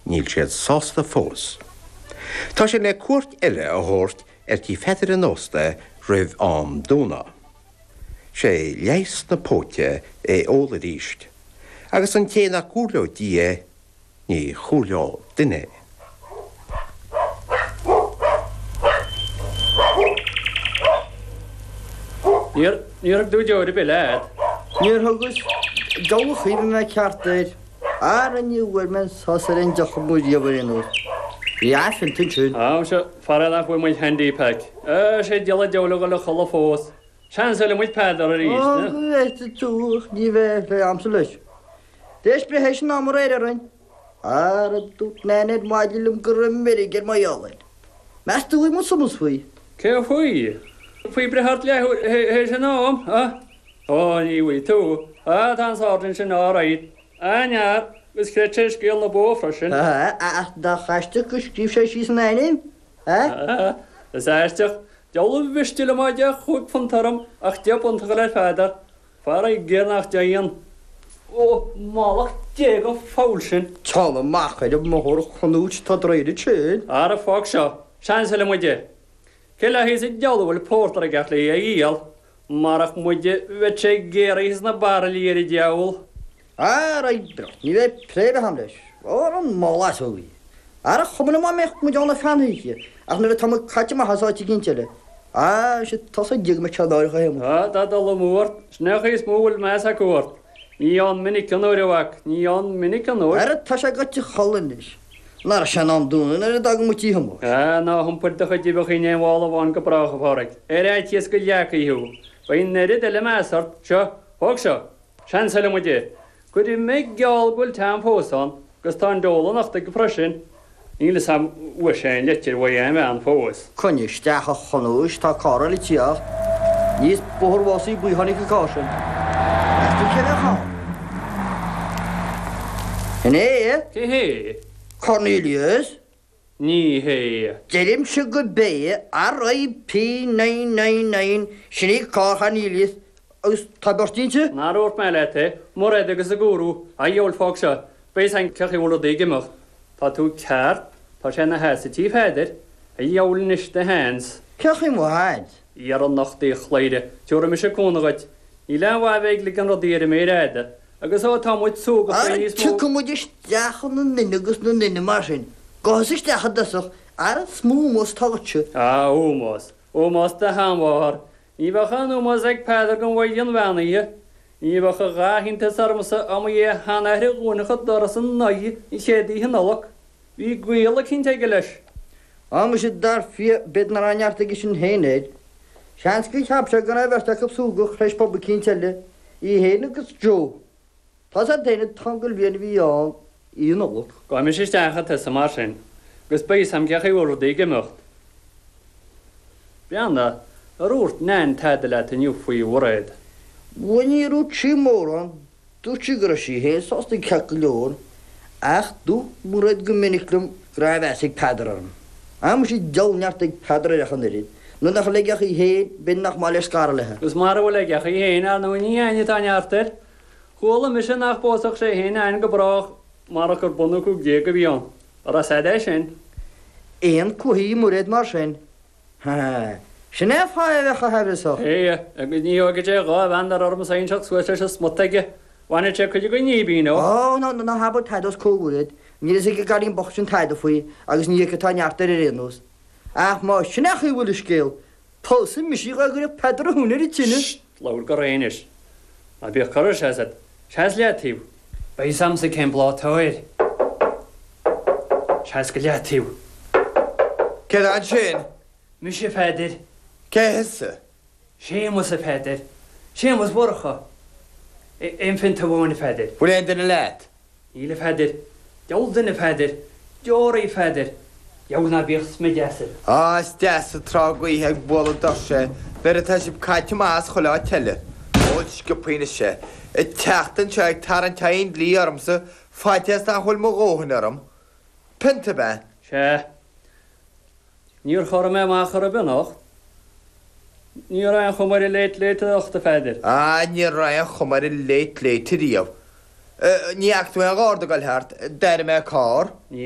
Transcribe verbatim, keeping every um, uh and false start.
Níl siad sásta fós. Tá sé le cuairt eile a thabhairt ar tí Pheadair an ósta roimh am dúnadh. Sé leigheas na póite é ól arís, agus an té nach gcomhairleodh Dia é, ní chomhairleodh duine é. Níor níor thug tú deoir ar bith leat. Níor thugas. Diabhal a chuimhnigh mé ceart air. Ara ní bhfuair mé an sos ar an deoch amuigh riamh ar aon nós. Bhí athphionnta ansin. Á, muise, faraor nach bhfuair muid handy pack. Á, sé diabhal an diabhal a dhul a chodladh fós. Seansáilfidh muid Peadar arís. Á, go bhfeicfidh tú, ach ní bheidh le agamsa leis. Tar éis breith théis an ama aréir orainn. Ara dúirt Nain ar maidin liom go raibh meirg ar mo gheall air. Meas tú an bhfaighidh muid somas faoi? Cé faoi? Faoi breith ort leathuair théis an am, a? Ó, ní bhfaighidh tú. Á, tá an sáirsint sin all right. An-fhear, agus chreid sé scéal na bó freisin. Á, ach nach aisteach gur scríobh sé síos an ainm, a? Á, is aisteach. Diabhal a mhiste liom dá mbeadh chúig phunt orm ach deich bpunt a dhul ar Pheadar. Faraor nach dtéann. Ó, mallacht Dé don pholl sin! Téann amach ar an mbóthar a Chonúit, tá draeire ansin. Ara fág seo, seansáilfidh muid é. Cé léi sa diabhal a bhfuil pórtar ag teacht léi a dhíol? Marach muide bheadh sé géaraithe sna bairillí ar an diabhal. Ara oibreoidh, ní bheidh préimh agam leis. Ara an mála easógaí. Ara chuma liom dá mbeadh muid ann ar feadh na hoíche, ach nuair atá muid caite amach as áit eicínt eile. Á, sea, tá's ag Dia go mbeadh sé náireach a Shéamuis. Á, tá dul amú ort. Sin é an chaoi is mó a bhfuil meas acu ort. Ní ann minic an uair, a mhac, ní ann minic an uair. Ara, tá sé goite a chodladh anois. Nach raibh sé in am dúnadh nuair a d'fhága muid tí Shéamuis. Á, ná hiompair do chuid uibheacha in aon mhála amháin go brách, a Phádraig. Ar fhaitíos go leagfaí thú. Beidh an oiread eile meas ort. Seo, thóg seo. Seansáilfidh muid é. Cuirfidh mé geall go bhfuil t-am fós ann, agus tá an diabhal anocht aige freisin. Níl fhios a'm bhfuair sé aon leitir uaidh aon bhean fós. Coinnigh isteach a Chonúis, tá carr eile ag tíocht. Aníos Bóthar Mhásaí Buí a tháinig an carr sin. Meas tú cé bheadh ann? Sin é é. Cé hé? Cornelius. Ní hé. Deirimse gurb é, RIP nine nine nine, sin í carr Chornelius, agus tá beirt inti. Nár dhúirt mé leat é, Mairéad agus a gúrú, a dhiabhail fág seo, beidh fhios a'inn cé chaoi a bhfuil rudaí ag imeacht. Tá tú ceart, tá sé ina sheasamh tí Pheadair, a dhiabhail anois do sheans. Cé chaoi mo sheans? Iarr anocht í a chladhaire, tabharfaidh mise cúnamh dhuit. Níl aon mhaith a bheith ag ligean rudaí ar an méar fhada, agus ó tá muid súgach Ara beidh níos mó. tiocfaidh muid isteach ina nduine agus ina nduine mar sin. Gabh thusa isteach i dtosach, ara is mó ómós atá agatsa. Á, ómós, ómós do sheanmháthair. Ní bheadh aon ómós ag Peadar don mhaighdean bheannaithe. Ní bheadh a dhath iontais ormsa dá mba é a sheanathair a dhúnfadh an doras ina aghaidh an chéad oíche Nollag. Bhí gaol eicínt aige leis. Á muise dar fia, b'fhéidir nach raibh neart aige sin féin air. Seans gur cheap sé go raibh an bheirt acu súgach th'éis pub eicínt eile, í féin agus Joe. Tá's agat féin an t-uncail bhliain a bhí ann Oíche Nollag. Gabhfaidh mise isteach chun tosaigh mar sin, agus beidh fhios a'm cé chaoi a bhfuil rudaí ag imeacht. Breathnaigh, ar dhúirt Nan tada leat inniu faoi Mhairéad? Bhuel níor dhúirt sí mórán, Dúirt sí go raibh sí féin sásta ceart go leor, ach dúirt Mairéad go minic liom go raibh meas ag Peadar orm. Á muise diabhal neart ag Peadar uirthi ach an oiread, nuair nach bhfuil aige ach í féin, b'fhéidir nach maith leis scaradh léi. Agus mara bhfuil aige ach í féin, ar ndóigh ní againne atá neart air. Chuala mise nach bpósfadh sé féin Ann go brách marach gur bun a cúig déag a bhí ann. An raibh 's a'd é sin? Aon cluichí Mairéad mar sin? Ha! Sin é an fáth a bheadh chomh haimhreasach. Sea, agus ní thógfaidh sé dhá mheandar ormsa inseacht suas leis an smut aige. Bhainfeadh sé cuid den ghíbín dó. Ó, ná, ná habair tada os comhair Mhairéad. Níl fhios ag an gcailín bocht sin tada faoi, agus ní aici atá neart air ar aon nós. Ach má sin é an chaoi a bhfuil an scéal, pósfaidh mise í dhá gcuirfeadh Peadar a thóin ar an tine. Sst! Labhair go réidh anois. Ná bíodh cor ar seas agat. Seas leataobh. Beidh fhios a'msa cén bláth atá air. Seas go leataobh. Cé tá ansin? Mise, a Pheadair. Cé thusa? Séamus, a Pheadair. Séamus Mhurchadha. Aon phionta amháin, a Pheadair. Bhfuil aon duine leat? Níl, a Pheadair. Diabhal duine, a Pheadair. Deoraí, a Pheadair. Deabhal ná bíodh smideadh asail. Á, is deas an tráth gaoithe ag bualadh doirse é nuair atá sibh caite amach as chuile áit eile. Ól sciobthaí anois é. Ag teacht anseo ag tarraingt aghaidh an dlí ormsa, faitíos nach bhfuil mo dhóthain orm. Pionta ab ea? Sea. Níor chorraigh mé amach chor ar bith anocht. Ní raibh aon chuma ar an Late Late anocht, a Pheadair. Ah, ní raibh aon chuma ar an Late Late ariamh. Ní fhaca tú aon gharda ag dul thart? D'airigh mé carr. Ní